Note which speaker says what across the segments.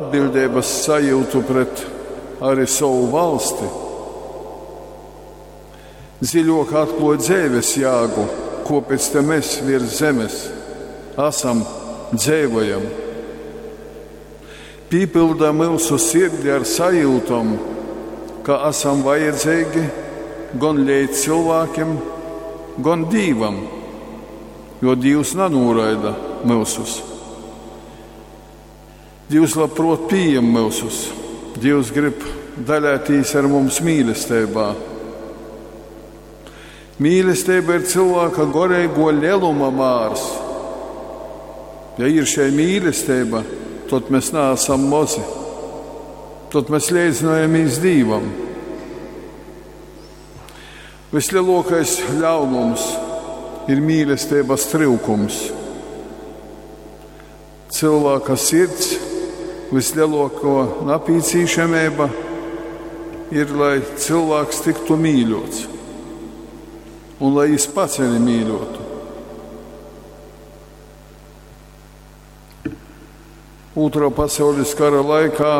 Speaker 1: Atbiļdeibys sajiutu pret ari sovu valsti. Dziļuok atkluoj dzeivis jāgu, kuopēc te mes viers zemis asam, dzeivojam. Pīpylda myusu sirdi ar sajiutom, ka asam vajadzeigi gon leidzcylvākim, gon Dīvam, jo Dīvs nanūraida myusus. Dīvs labpruot pījem myusus. Dīvs grib daļātīs ar mums mīlesteibā. Mīlesteiba ir cylvāka goreiguo leluma mārs. Ja ir šei mīlesteiba, tod mes naasam mozi. Tod mes leidznojamīs Dīvam. Vysleluokais ļaunums ir mīlesteibys tryukums. Cylvāka sirds vysleluokuo napīcīšameiba ir, lai cylvāks tyktu mīļuots un lai jis pats arī mīļuotu. Ūtrā pasaulis kara laikā,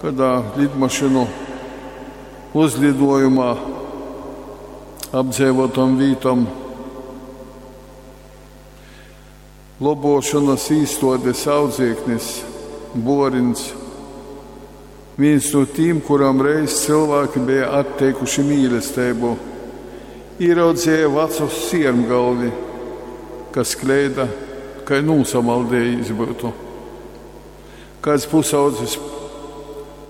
Speaker 1: kādā lidmašīnu uzlidojumā apdzeivotom vītom lobuošonys īstuodis audzieknis Buorins, vīns nu tīm, kuram reiz cylvāki beja atteikuši mīlesteibu, īraudzeja vacu siermgalvi, kas kleida, kai nūsamaldējīs byutu. Kāds pusaudzis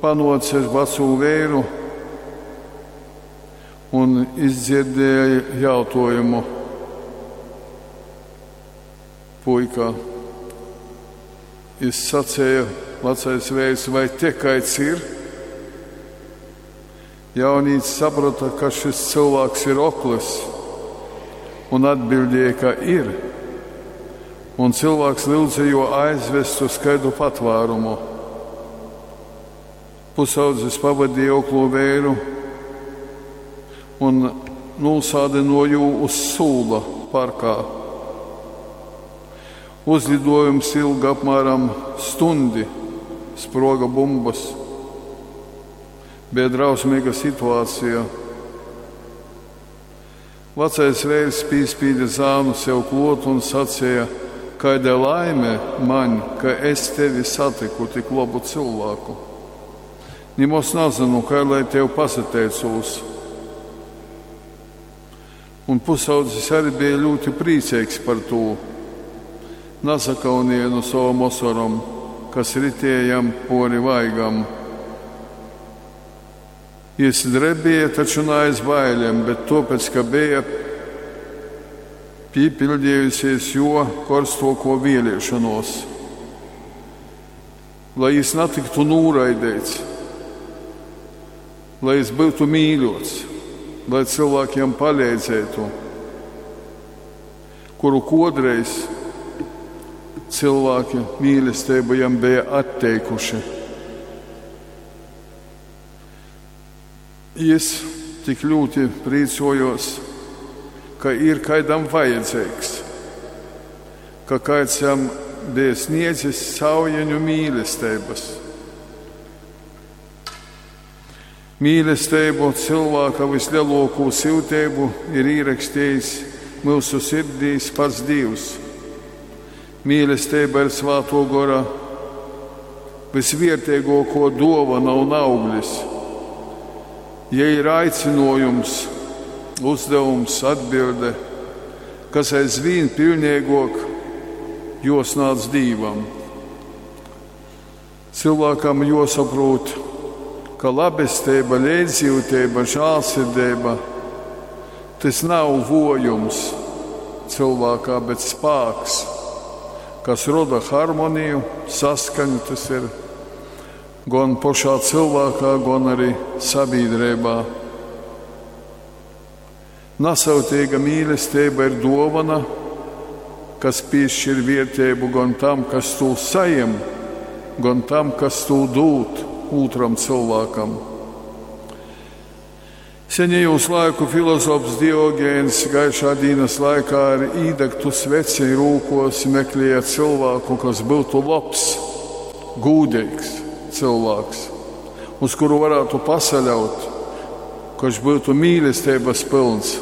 Speaker 1: panuoce vacū veiru un izdzierdēja jautuojumu puika. Jis saceja, vacais veirs, vai te kaids ir? Jaunīts saprota, ka šis cylvāks ir oklys, un atbildēja, ka ir. Un cylvāks lyudze jū aizvest uz kaidu patvārumu. Pusaudzis pavadīja oklo veiru un nūsādynuoja jū uz sūla parkā. Uzlidojums ilga apmēram stundi, spruoga bumbys. Beja drausmīga situācija. Vacais veirs pīspīde zānu sev kluot un saceja, kaida laime maņ, ka es tevi satiku tik lobu cylvāku. Nimoz nazynu, kai lai tev pasateicūs. Un pusaudzis arī bija ļoti priecīgs par to. Nasakaunēja nu sovom osorom, kas ritēja jam pori vaigam. Jis drebēja taču ne aiz bailēm, bet tuopēc, ka beja pīpildījusies jo korstoko vēlēšanos, lai jis natiktu nūraidīts, lai jis būtu mīļots, lai cilvēkiem palīdzētu, kuru kodreiz cilvēki mīlestību jam bija atteikuši. Jis tik ļoti priecojos, ka ir kaidam vajadzīgs, ka kāds jam bija sniedzis saujeņu mīlestības. Mīlestību cilvēka vislielāko siltību ir ierakstījis mūsu sirdīs pats Dievs. Mīlestība ir Svāto Gora visvērtīgāko dāvana un auglis. Ja ir aicinājums, uzdevums, atbilde, kas aizvien pilnīgāk josnāc Dīvam. Cilvēkam jāsaprot, ka labestība, līdzjūtība, žēlsirdība tas nav vojums cilvēkā, bet spēks, kas roda harmoniju, saskaņu, tas ir gan pašā cilvēkā, gan arī sabiedrībā. Nasautīga mīlestība ir dāvana, kas piešķir vērtību gan tam, kas to sajem, gan tam, kas to dod otram cilvēkam. Senajos laiku filozofs Diogēns gaišā dienas laikā ar īdegtu sveci rūkos meklēja cilvēku, kas būtu labs. gūdeigs cylvāks, uz kuru varētu pasaļaut, kurš būtu mīlestības pilns.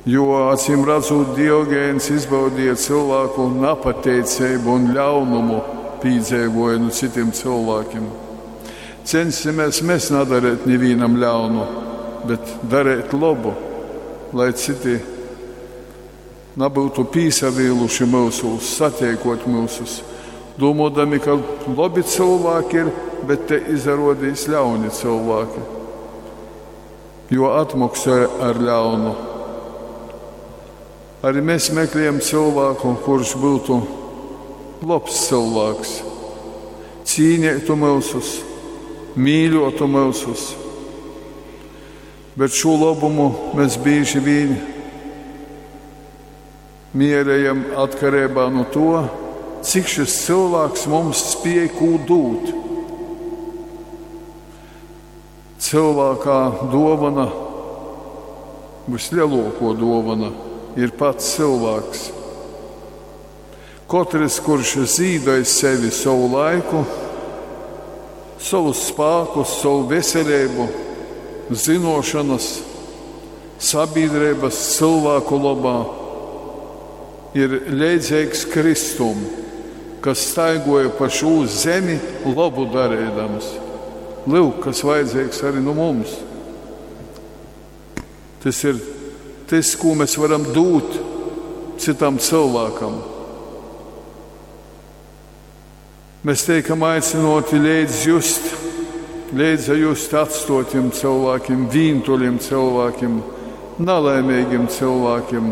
Speaker 1: Jo, acīm redzot, Diogēns izbaudīja cilvēku napateicību un ļaunumu pīdzeivoja nu citiem cilvēkiem. Censimies mēs nedarīt nevienam ļaunu, bet darīt labu, lai citi nebūtu pīsavīluši mūsus, satiekot mūsus, domādami, ka labi cilvēki ir, bet te izrādīs ļauni cilvēki, jo atmaksāja ar ļaunu. Arī mēs meklējam cilvēku, kurš būtu labs cilvēks, cīnītu mūsus, mīļotu mūsus. Bet šo labumu mēs bieži vien mierējam atkarībā no to, cik šis cilvēks mums spēj ko dot. Cilvēkā dāvana, vislielāko dāvana, ir pats cilvēks. Katrs, kurš zīdai sevi savu laiku, savus spēkus, savu veselību, zinošanas, sabiedrības cilvēku labā, ir līdzīgs Kristum, kas staigoja pa šo zemi labu darīdams. Lūk, kas vajadzīgs arī nu mums. Tas ir tas, ko mēs varam dot citam cilvēkam. Mēs teikam aicinoti līdz just, līdz just atstotiem cilvēkiem, vīntuļiem cilvēkiem, nelaimīgiem cilvēkiem.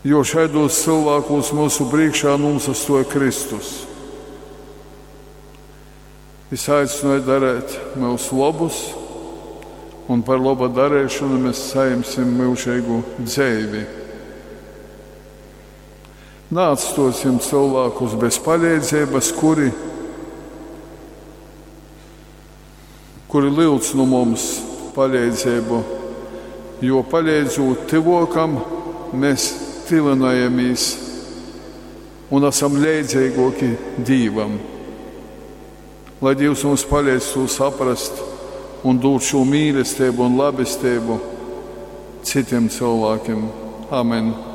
Speaker 1: Jo šaidos cilvēkos mūsu priekšā nosastoja Kristus. Es aicināju darīt mūsu labus, un par laba darīšanu mēs saņemsim mūžīgu dzīvi. Neatstosim cilvēkus bez palīdzības, kuri, kuri lūdz no mums palīdzību, jo palīdzot tuvākam, mēs tuvinājamies un esam līdzīgāki Dievam. Lai Dievs mums palīdz to saprast un dot šo mīlestību un labestību citiem cilvēkiem. Amen!